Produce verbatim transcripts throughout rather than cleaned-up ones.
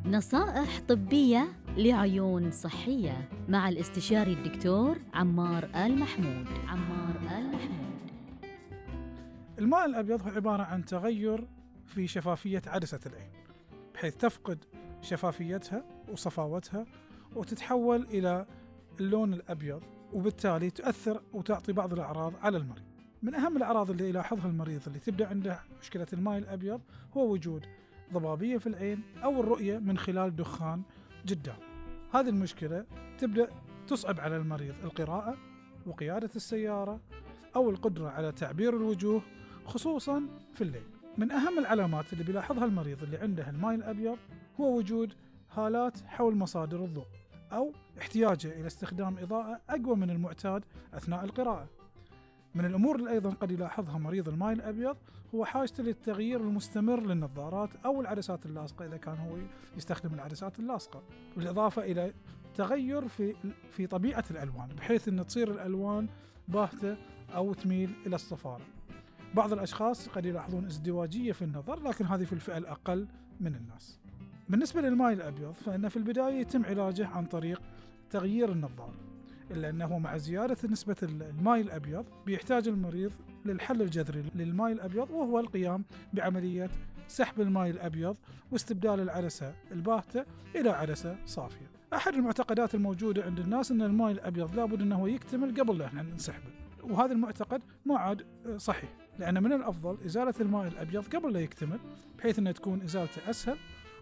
نصائح طبية لعيون صحية مع الاستشاري الدكتور عمار آل محمود. عمار آل محمود. الماء الأبيض هو عبارة عن تغير في شفافية عدسة العين، بحيث تفقد شفافيتها وصفاوتها وتتحول إلى اللون الأبيض، وبالتالي تؤثر وتعطي بعض الأعراض على المريض. من أهم الأعراض اللي يلاحظها المريض اللي تبدأ عنده مشكلة الماء الأبيض هو وجود ضبابية في العين أو الرؤية من خلال دخان قدام. هذه المشكلة تبدأ تصعب على المريض القراءة وقيادة السيارة أو القدرة على تعبير الوجوه خصوصا في الليل. من أهم العلامات اللي بيلاحظها المريض اللي عنده الماء الأبيض هو وجود هالات حول مصادر الضوء أو احتياجه إلى استخدام إضاءة أقوى من المعتاد أثناء القراءة. من الأمور اللي أيضا قد يلاحظها مريض الماء الأبيض هو حاجته للتغيير المستمر للنظارات أو العدسات اللاصقة إذا كان هو يستخدم العدسات اللاصقة، بالإضافة إلى تغير في في طبيعة الألوان بحيث أن تصير الألوان باهتة أو تميل إلى الصفارة. بعض الأشخاص قد يلاحظون ازدواجية في النظر، لكن هذه في الفئة الأقل من الناس. بالنسبة للماء الأبيض فإن في البداية يتم علاجه عن طريق تغيير النظارة، إلا أنه مع زيادة نسبة الماء الأبيض بيحتاج المريض للحل الجذري للماء الأبيض، وهو القيام بعملية سحب الماء الأبيض واستبدال العدسة الباهتة إلى عدسة صافية. أحد المعتقدات الموجودة عند الناس أن الماء الأبيض لابد أنه يكتمل قبل أن نسحبه، وهذا المعتقد ما عاد صحيح، لأن من الأفضل إزالة الماء الأبيض قبل لا يكتمل بحيث أن تكون إزالته أسهل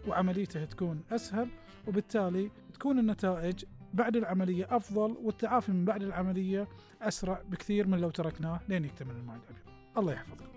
وعمليته تكون أسهل، وبالتالي تكون النتائج بعد العملية أفضل والتعافي من بعد العملية أسرع بكثير من لو تركناه لين يكتمل الماء الأبيض. الله يحفظكم.